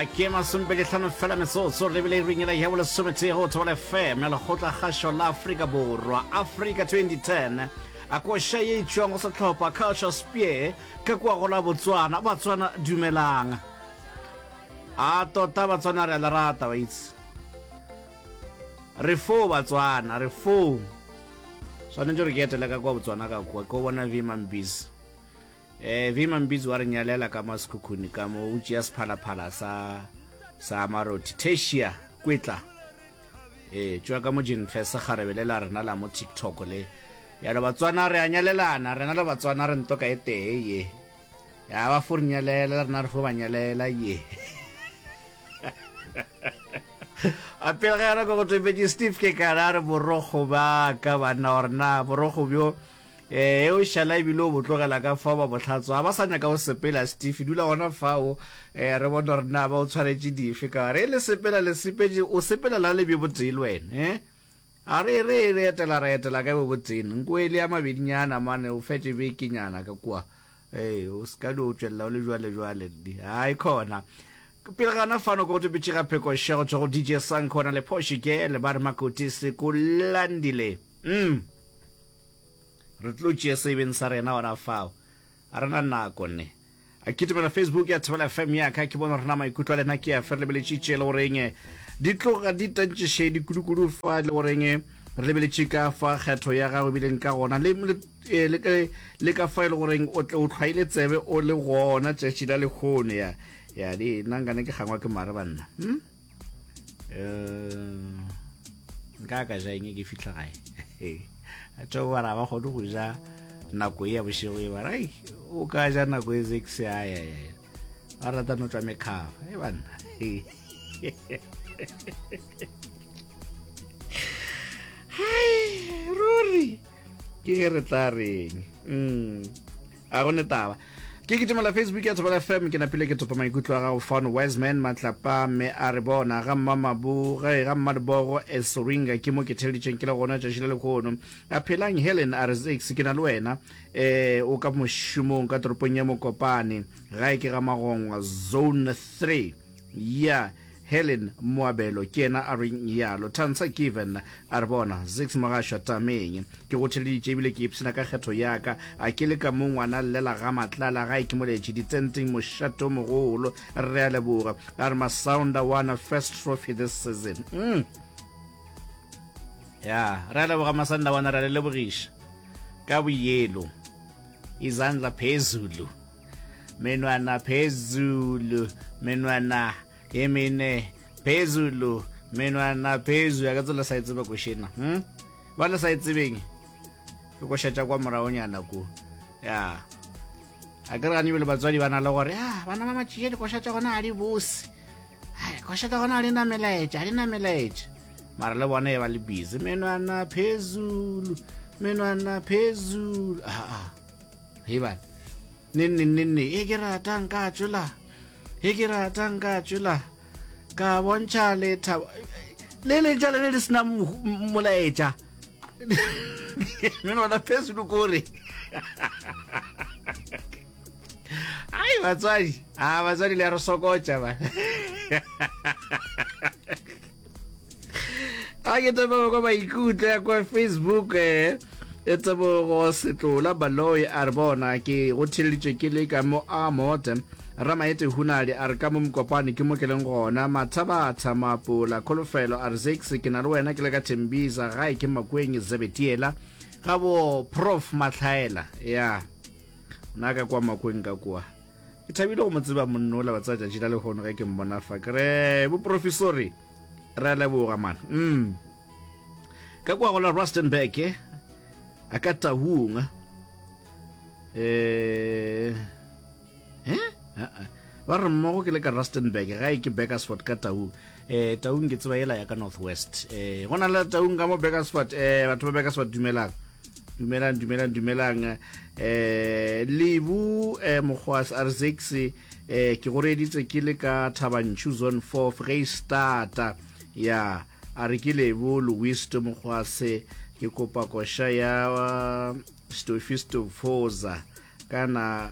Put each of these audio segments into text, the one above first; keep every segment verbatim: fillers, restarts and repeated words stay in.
A ke masomepedi hlano fela metsotso re lebile iring yela ya bolesometee go Thobela F M ya Lekgotla Kgašo la Afrika Borwa, Africa twenty ten. A koša ye e tšwang go sehlopha Culture Spear ka kua go la Botswana. Batswana, dumelang. A tota Batswana re a le rata, wa itse. Re foo Batswana, re foo. Swanetše gore ke etele ka kua Botswana ka kua, ke o bona Vima Mbizi. Eh, Vima Mbizi wa re nyalela ka masekhukhuni ka mo, o tšea sephalaphala sa sa Marothi. Tertia Kwetla. Eh, tšwa ka mo Jinfes kgarebe le la rena la mo TikTok le. Yalo Batswana re a nyalelana, rena le Batswana re ntoka e tee ye. Ya ba fo re nyalela, le rena re fo ba nyalela ye. A pele ga yona ko go topetše Steve ke kana a re borokgo ba ka banna gore na borokgo bjo eh o šala ebile o bo tlogela ka fao ba bohlatswa ba sa nyaka o sepela. Steve, dula gona fao, eh re bone gore na ba o tshwaretše dife, ka gore e le sepela le sepetše, o sepela la le bjo botee le wena. eh a re re re etela, re etela ka bo botee nko e le ya mabedinyana mane o fetše bekenyana ka kua. Ee, o se ka dio tšwelela o le jwale jwale di hai khona. Pele gana fano ko go topetše ga pheko šego tšwa go D J Sankhona le Porsche Girl ba re makoti se ko landile. mm re tlo tšea sebeng sa rena gona fao, a rena nako ne. A kitimela Facebook ya Thobela F M ya ka, ke bona rena maikutlo a lena ke a fe. Re lebeletše tše le goreng di tloga di tantšišedi kudu-kudu fa, le goreng re lebeletše ka fa kgetho ya gago ebileng ka gona le, le, eh, le, le ka fa e le goreng o tle o tlhwaile tsebe o le gona tšatši la lekgono. Ya ya di nna nkane ke gangwa ke mare banna, hmm? Eh, nka ka ja eng ke fitlha gae? Tšo bara ba kgone go ja nako e ya bošego e bara ai o ka ja nako e six ya ya ya ba rata no tswa mekhava e banna. Hai ruri, ke ge re tla reng? mm a go ne taba. Ke kitimela Facebook ya Thobela F M, ke napile ke topa maikutlo a gago fano. Wiseman Matlapa mme a re bona ga mmamabu ge ga mmadebogo Esoringa, ke mo ke theleditšeng ke le gona tšatši le lekgono. A phelang Helen a re Zix, ke na le wena, eh o ka mošomong ka toropong ya Mokopane, gae ke ga Magongwa zone three. Ya Helen Moabelo ke yena a reng yalo. Tansa Given a re bona Zix Mogašwa tameng, ke go theleditše ebile ke ipshina ka kgetho ya ka, a ke le ka mo ngwana llela ga Matlala gae ke moletše ditenteng mošato mogolo. Re a leboga. A re Masounda won first trophy this season. mm. Ya re a leboga Masanda wana, re a le lebogiša ka boyelo. Izandla phezulu, menwana phezulu, menwana e mene phezulu, menwana phezulu ya ka tsela sa e tseba košena. hmm? Ba le sa e tsebeng ke košetša kwa moragonyana ko ya a ke re gane ebile batswadi ba na le gore ya bana ba matšie dikoša tša gona ga di bose, koša tša gona ga di na melaetša, ga di na melaetša, mara le bona e ba le busy menwana phezulu, menwana phezulu. Aa he bana, ne nne nne nne e ke ratang ka tšwela, e ke ratang ka tšwela ka bontšha lethabo le letša le le le sena molaetša, menwana phezulu kore ai batswadi, a batswadi le ya re sokotša ba. A ke tebogo kwa maikutlo ya kwa Facebook. eh e tebogo Setlola Baloi a re bona ke go theleditše ke le ka mo a mote. Ramaete Hunadi a re ka mo Mokopane ke mo ke leng gona. Mathabatha Mapola Kholofelo a re Zix, ke na le wena ke le ka Thembisa, gae ke Makweng Zebetiela ga bo Prof Matlhaela. Ya nna ka kwa Makweng ka kua, ke thabile go mo tseba monnola ba tsaya tšatši la lehono ge ke mmona fa, ke re boprofesori re a leboga man. mm. Ka kua go la Rustenburg a ka Taung, eh eh ba re mmogo ke le ka Rustenburg, gae ke Bakersford ka Taung. eh Taung ke tseba yela ya ka North West. eh go na le Taung ka mo Bakersford. eh batho ba Bakersford, dumelang, dumelang, dumelang, dumelang. eh lebu eh mokgwas a re Zix, eh ke go reeditse ke le ka Thabantšhu zone four Freistata. Ya a re ke Lebo Louis Mokgwase, ke kopa koša ya Stofi Stofoza kana.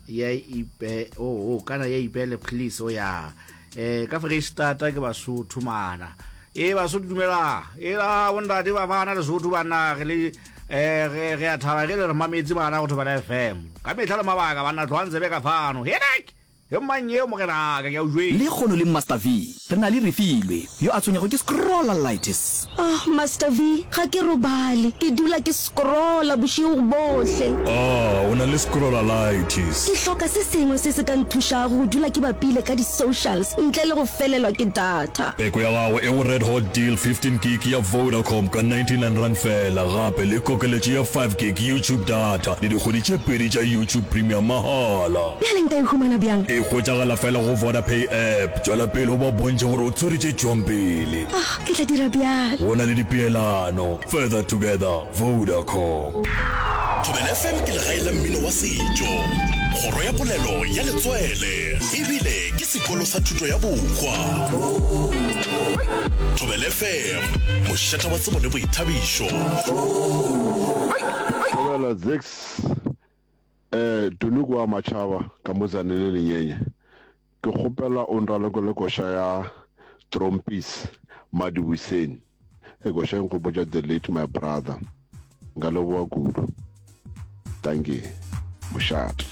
ya ipe oh, oh kana ya ipele please o ya eh ka Freistata ke Basotho mana e Basotho dumela e la bontate ba bana Lesotho banna re le eh re re a thaba ge le re mametse bana go Thobela F M ka mehla le mabaka banna tlogang tsebe ka fano henak e mang eo mogenaka ke a o jwetsa. Lekgono le Master V re na le Refilwe yo a tshwenyago ke scrollalitis. Oh, Master V, ga ke robale. Ke dula ke scrolla bošego bohle. Ah, o na le scrollalitis. Ke hloka se sengwe se se ka nthušago go dula ke bapile ka di-socials ntle le go felelwa ke data. Peko ya gago e go Red Hot Deal fifteen gig ya Vodacom ka ninety nine rand fela, gape le kokeletšo ya five gig YouTube data le dikgwedi tše pedi tša YouTube Premium mahala. Bjale nka e humana bjang? E hwetšagala fela go Vodapay app. Tšwela pele o ba bontšhe gore o tshwere tše tšwang pele. Ah, ke tla dira bjalo. Go na le dipeelano. Further together. Vodacom. Thobela F M ke legae la mmino wa setšo, kgoro ya polelo ya letswele, ebile ke sekolo sa thuto ya bohwa. Thobela F M, mošate wa tsebo le boithabišo. Thobela Zix, eh Tuluku wa Machaba ka mo Tzaneen Lenyenye. Ke kgopela o nralokele koša ya Trompies Madibuseng. E koša e nkgopotša the late my brother. Nka leboga kudu. Dankie. Mošate.